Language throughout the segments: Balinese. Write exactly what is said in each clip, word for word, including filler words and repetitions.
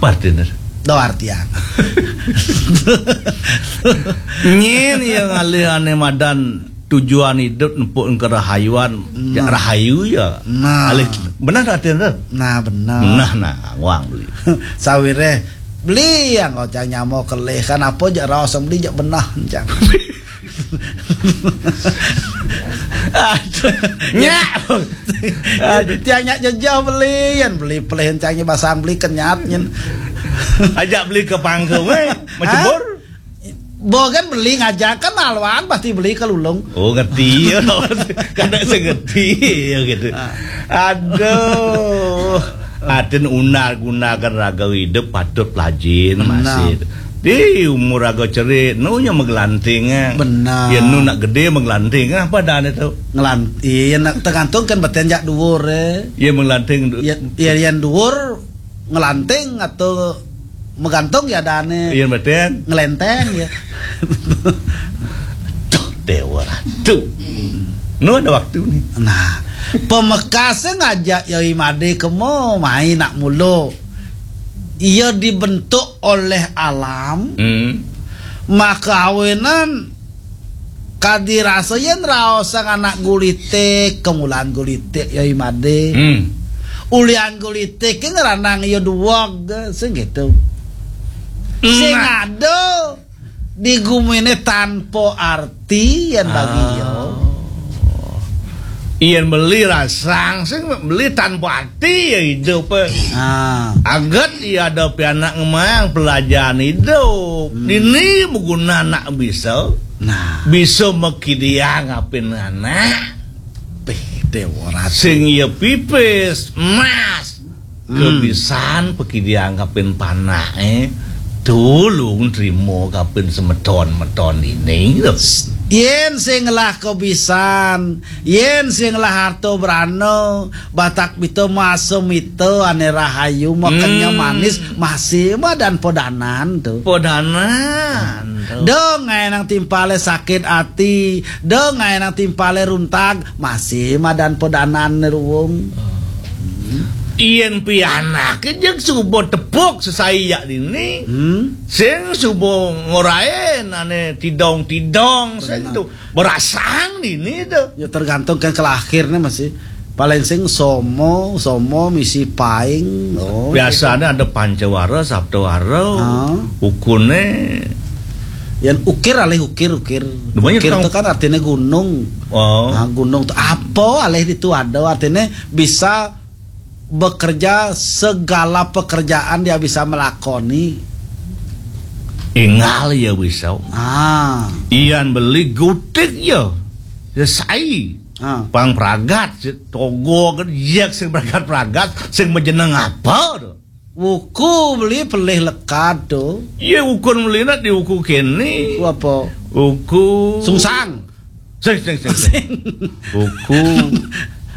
Partner. Do artian. Nyen ya ngalih ane madan tujuan hidup nempuk ke rahayuan, jak Nah. Rahayu ya. Nah. Alih, benar tak artian tu? Nah, benar. Nah, nah, wang beli. Sawire beli yang kau cang nyamo kelih kan apa jak raos beli jak benah cang. Aduh. Nyak. Aduh, tiang nyak jejeh beli, yan beli pelih cang nyi basang beli kenyat nyen. Ajak beli ke pangkung, eh. Macebur. Bogan beli ngajak kan alwan pasti beli ke lulung. Oh, ngerti ya. Kada sengerti ya gitu. Ah. Aduh. Atin unar gunakan raga hidup patut pelajin masih. Di umur raga cerit, nu nya megelanting, eh. Benar. Ya, nu nak gede megelanting, eh. Apa dah tu? Ngelanting, ya, nak tergantung kan beten jak duur, eh. Ya, megelanting du- Ya, ya, yang duur ngelanting atau megantung ya dane. Iya, beten. Ngelenteng ya. Tuh, Dewa Ratu. Nu ada waktu ni. Nah, pemekase ngajak Yai Made kemo mai nak mulo. Ia dibentuk oleh alam, Hmm. maka awenan kadi rasa yen raosang anak gulitik, kemulan gulitik Yai Made. Hmm. Ulian gulitik ke ngeranang ia duweg, sing gitu. Sing Nah. ada di gumine tanpa arti yen bagi Ah. ia. Yen beli rasang sing beli tanpa arti ya hidup, eh. Ah. Aget ia ada pianak ngemang pelajaran hidup. Hmm. Dini beguna nak bisa. Nah. Bisa mekidiang apin anak. Pih, Dewa Ratu. Sing ia pipis, emas. Hmm. Kebisan pekidiang kapin panak, eh. Tulung trimo kapin semeton-meton ini, gitu. Yen sing lah kebisan, yen sing lah harta berana, batak pita masa mita ane rahayu, makanya Hmm. manis, masih madan podanan tu. Podanan tu. Dong ngai nang timpale sakit ati, dong ngai nang timpale runtag, masih madan podanan ruwung. Yen pianake jeg suba tepuk sesai yak dini. Hmm. Sing suba ngorain ane tidong-tidong, sing Benar. tu berasang dini tu. Ya tergantung kan ke lahirnya masih. Paling sing somo, somo misi paing. Oh, Biasanya ada pancawara, saptawara, Ah. ukune. Yang ukir alih ukir, ukir. Namanya Ukir tukang itu kan artinya gunung. Oh. Nah, gunung tu apa alih itu ada artinya bisa bekerja segala pekerjaan dia bisa melakoni. Ingal ya bisa. Ah. Ian beli gutik ya. Ya sai. Ah. Pang pragat, si togo kan, yak sing pragat-pragat, sing majeneng apa tu? Wuku beli pelih lekad tu. Iya, wuku beli nak di wuku kene. Wuku apa? Wuku Sungsang. Sing, sing, sing, sing. Wuku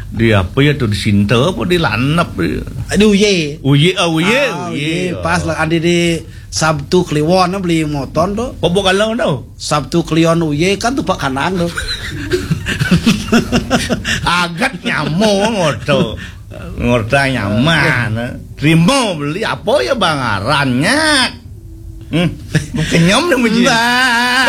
di apa ya tu, di Sinta apa di Lanap ya? Di Uye. Uye, ah, Uye, Ah, Uye. Uye. Pas lah adi di Sabtu Kliwon beli motor tu. Apa kalau tu? Sabtu Kliwon Uye kan tu pak kanang tu. Agat nyamo ngoto. Ngorta nyaman. Terima beli apa ya bangarannya? Hmm. Kenyam dah muji. Mbah.